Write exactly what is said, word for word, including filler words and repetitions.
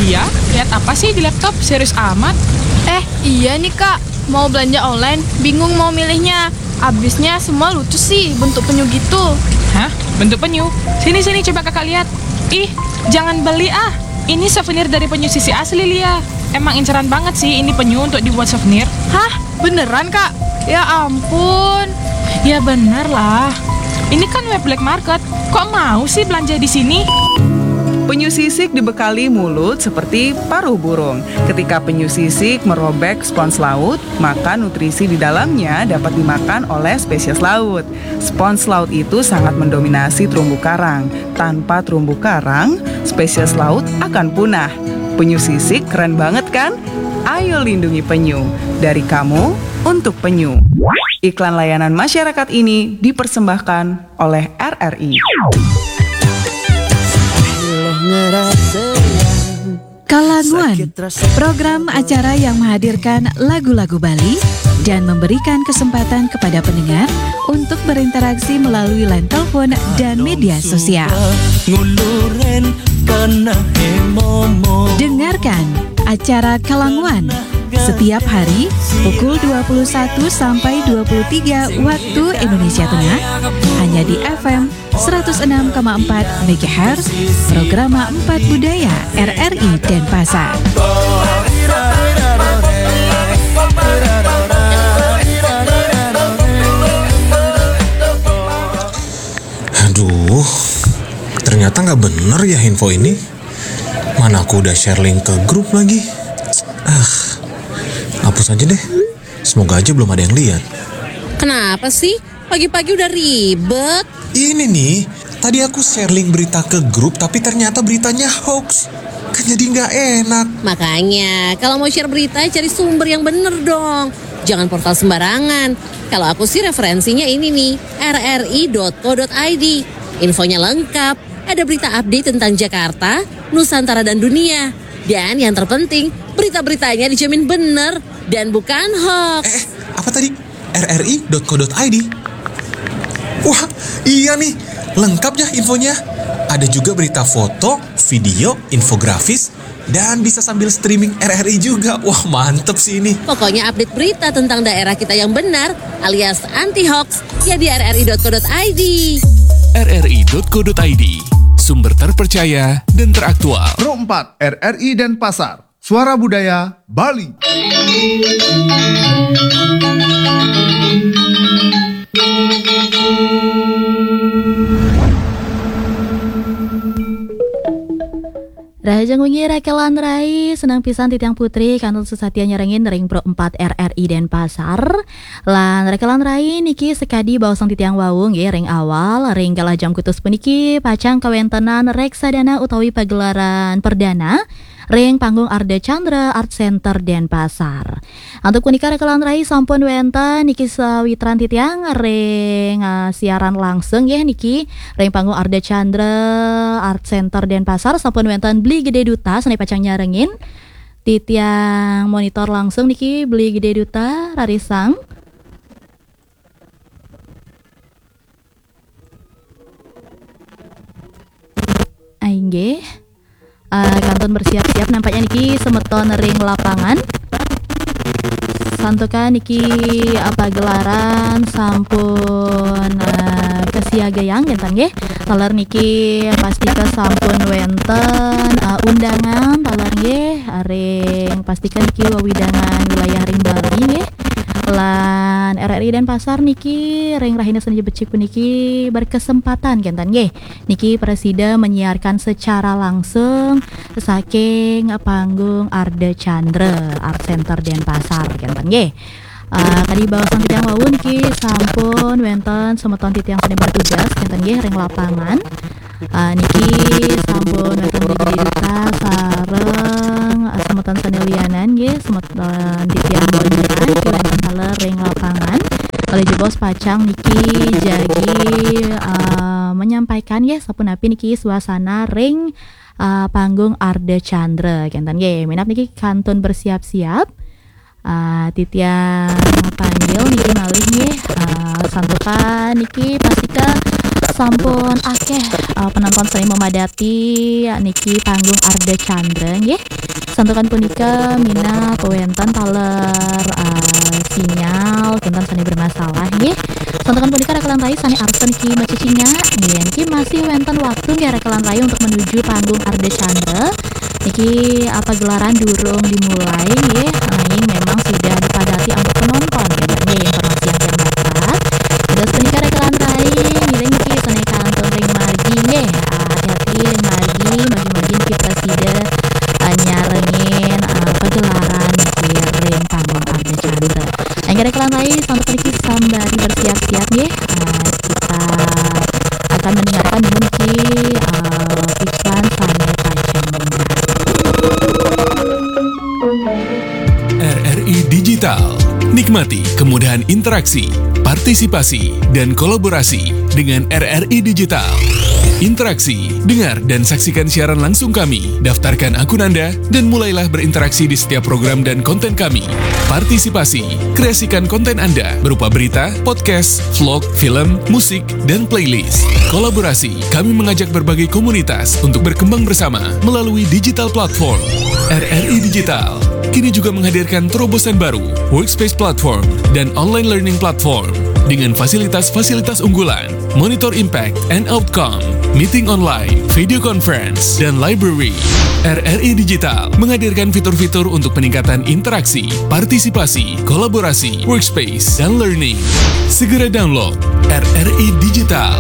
Ya, lihat apa sih di laptop? Serius amat. Eh, iya nih Kak, mau belanja online, bingung mau milihnya. Abisnya semua lucu sih bentuk penyu gitu. Hah? Bentuk penyu? Sini, sini, coba kakak lihat. Ih, jangan beli ah. Ini souvenir dari penyu sisik asli, Lia. Emang inceran banget sih ini penyu untuk dibuat souvenir. Hah? Beneran Kak? Ya ampun. Ya bener lah. Ini kan web black market. Kok mau sih belanja di sini? Penyu sisik dibekali mulut seperti paruh burung. Ketika penyu sisik merobek spons laut, maka nutrisi di dalamnya dapat dimakan oleh spesies laut. Spons laut itu sangat mendominasi terumbu karang. Tanpa terumbu karang, spesies laut akan punah. Penyu sisik keren banget kan? Ayo lindungi penyu. Dari kamu, untuk penyu. Iklan layanan masyarakat ini dipersembahkan oleh R R I. Kalanguan, program acara yang menghadirkan lagu-lagu Bali dan memberikan kesempatan kepada pendengar untuk berinteraksi melalui line telepon dan media sosial. Dengarkan acara Kalanguan setiap hari pukul dua puluh satu sampai dua puluh tiga waktu Indonesia Tengah, hanya di F M seratus enam koma empat megahertz, Programa Empat Budaya R R I Denpasar. Aduh, ternyata nggak bener ya info ini. Mana aku udah share link ke grup lagi. Ah, hapus aja deh. Semoga aja belum ada yang lihat. Kenapa sih? Pagi-pagi udah ribet. Ini nih, tadi aku share link berita ke grup tapi ternyata beritanya hoax. Kan jadi nggak enak. Makanya, kalau mau share berita, cari sumber yang bener dong. Jangan portal sembarangan. Kalau aku sih referensinya ini nih, R R I dot co dot I D. Infonya lengkap, ada berita update tentang Jakarta, Nusantara dan dunia. Dan yang terpenting, berita-beritanya dijamin bener dan bukan hoax. Eh, apa tadi? R R I dot co dot I D. Wah, iya nih, lengkap ya infonya. Ada juga berita foto, video, infografis, dan bisa sambil streaming R R I juga. Wah, mantep sih ini. Pokoknya update berita tentang daerah kita yang benar alias anti hoax ya di R R I dot co dot I D. R R I dot co dot I D, sumber terpercaya dan teraktual. Pro empat R R I Denpasar, Suara Budaya Bali. Rahajeng wengi rekelan rai, senang pisan titiang putri kantun sesatia nyerengin ring Pro empat R R I Denpasar. Lan rekelan rai niki sekadi baosang titiang wau nggih ring awal, ring galah jam kutus puniki pacang kawentenan reksadana utawi pagelaran perdana ring panggung Arda Chandra Art Center Denpasar. Antuk punika rekelan rai sampun wenten niki sawitran titiang ring uh, siaran langsung ya niki ring panggung Arda Chandra Art Center Denpasar sampun wenten Beli Gede Duta sane pacang nyarengin titiang monitor langsung niki Beli Gede Duta rarisang. Ainggih. Uh, kantun bersiap-siap nampaknya niki semeton ring lapangan. Santukan niki apa gelaran sampun uh, kesiagayang gentang nggih. Taler niki pastika sampun wenten uh, undangan taler nggih ring pastika niki wewidangan wilayah ring Bali nggih. Lan R R I Denpasar niki ring rahina Senin becik puniki berkesempatan kenten nggih. Niki presida menyiarkan secara langsung saking panggung Arda Chandra Art Center Denpasar kenten nggih. Uh, tadi baosang titiang wau niki sampun wenten semeton titiang sane bertugas kenten nggih ring lapangan. Uh, niki sampun wenten Beli Gede Duta sareng uh, semeton sane lianan nggih semeton titiang boncengan niki wenten taler ring lapangan. Kalih jebos pacang niki jagi uh, menyampaikan nggih sapunapi niki suasana ring uh, panggung Arda Chandra kenten nggih. Minab niki kantun bersiap-siap. Uh, titiang panggil niki malih nggih. Uh, santukan niki pastika Sampun akeh eh, penonton sane memadati niki panggung Ardha Candra nggih. Santukan punika minab wenten taler eh, sinyal kinten sane bermasalah nggih. Santukan punika rekelan rayi sane arsa niki macecingak nggih. Niki masih wenten waktu nggih rekelan rayi untuk menuju panggung Ardha Candra. Niki apa gelaran durung dimulai nggih. Nanging memang sudah dipadati antuk penonton nggih, nggih informasi yang dapat. Terus punika rekelan rayi ngiring niki sane kantun ring margi nggih. Ah, hati-hati ring margi, margi-margi niki prasida eh, nyarengin eh, pagelaran niki ring panggung Ardha Candra. Nggih rekelan rayi santukan niki sambari bersiap-siap nggih. Eh, kita akan mendengarkan niki eh, iklan sane pacang mungguh. R R I Digital. Nikmati kemudahan interaksi, partisipasi, dan kolaborasi dengan R R I Digital. Interaksi, dengar dan saksikan siaran langsung kami, daftarkan akun Anda, dan mulailah berinteraksi di setiap program dan konten kami. Partisipasi, kreasikan konten Anda berupa berita, podcast, vlog, film, musik, dan playlist. Kolaborasi, kami mengajak berbagai komunitas untuk berkembang bersama melalui digital platform. R R I Digital kini juga menghadirkan terobosan baru, Workspace Platform dan Online Learning Platform dengan fasilitas-fasilitas unggulan, monitor impact and outcome, meeting online, video conference, dan library. R R I Digital menghadirkan fitur-fitur untuk peningkatan interaksi, partisipasi, kolaborasi, workspace, dan learning. Segera download R R I Digital.